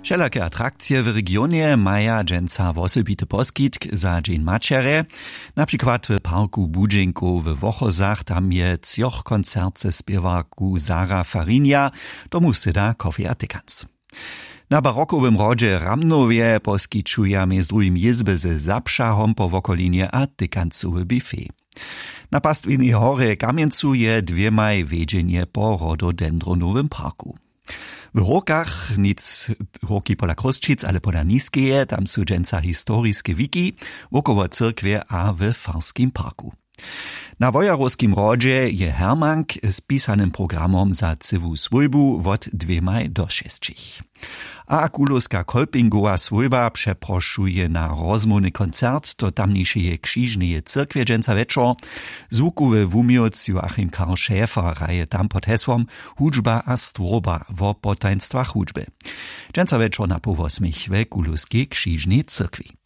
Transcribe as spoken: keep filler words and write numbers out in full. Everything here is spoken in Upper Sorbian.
Wšelake atrakcije w regionje maja dźensa wosebity poskitk za dźeń maćerje. Na přikład w parku budźenkow w wochozach, tam je třoch koncert ze spěwarku Sara Farinja, tomu syda kofeja tykanc. Na barokowym hrodźe w ramnowje poskićuja mjez druhim jězby ze zapřahom po wokolinje a tykancowy bifej. Na pastwinej horje w kamjencu je dwěmaj wjedźenje po rododendronowym parku. W hórkach nic hórki pola chrósćic ale pola niskeje, tam su dźensa historiske wiki wokoło cyrkwje a w farskim parku. Na wojerowskim hrodźe je hermank z pisanym programom za cyłu swójbu wot dwěmaj do šesćich. A kulowska kolpingowa swójba přeprošuje na rozmołwny koncert do tamnišeje křižneje cyrkwje dźensa wječor. Zwukowy wuměłc joachim karl schäfer hraje tam pod hesłom hudźba a stwórba wo potajnstwach hudźby. Dźensa wječor na poł wosmich we kulowskej křižnej cyrkwi.